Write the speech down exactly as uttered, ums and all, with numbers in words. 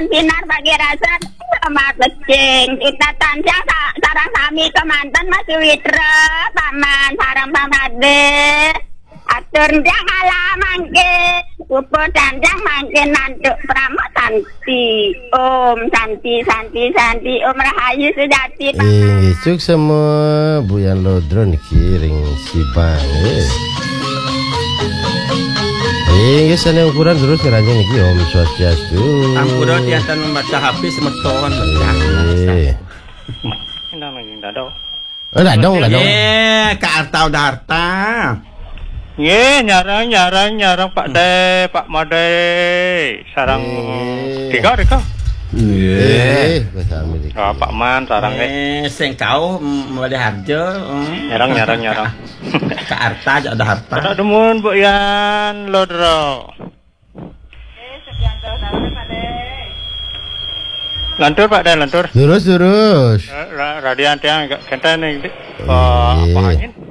Pinar bagi rasa sama kecing. Kita tansah sa-, sareng sami kemanten Mas Witra, Paman, sareng Pak Made. Atur ndang ala mangke. Pupuh dandang mangke nantuk prama santi. Om santi, santi, santi. Om rahayu sejati, Paman. Inggih, suksema Bu Yan Lodro niki ring Sibang, nggih. Inggih, sané ukuran terus ngranjing niki, Om Swastiastu. Ampura tiatan membaca H P semeton. Nggih. Endang nggih, dadong. Oh, dadong, dadong. Eh, Kak Arta udah Arta. Nggih, nyarang, nyarang, nyarang, Pak De, Pak Made, sarang. Eh. Tiga, tiga. Eh, bahasa Amerika. Ah, Pak Man, sarang, eh. Eh, sing kauh, mm, Made Harjo, mm. Nyarang, nyarang, nyarang. Kak Arta aja ada Arta. Kata dumun, Bu Yan Lodro. Lantur, Pak De, lantur. Lurus, lurus. Eh, ra-, radian tiang agak kenten nih, Dik. Oh, Pak Angin.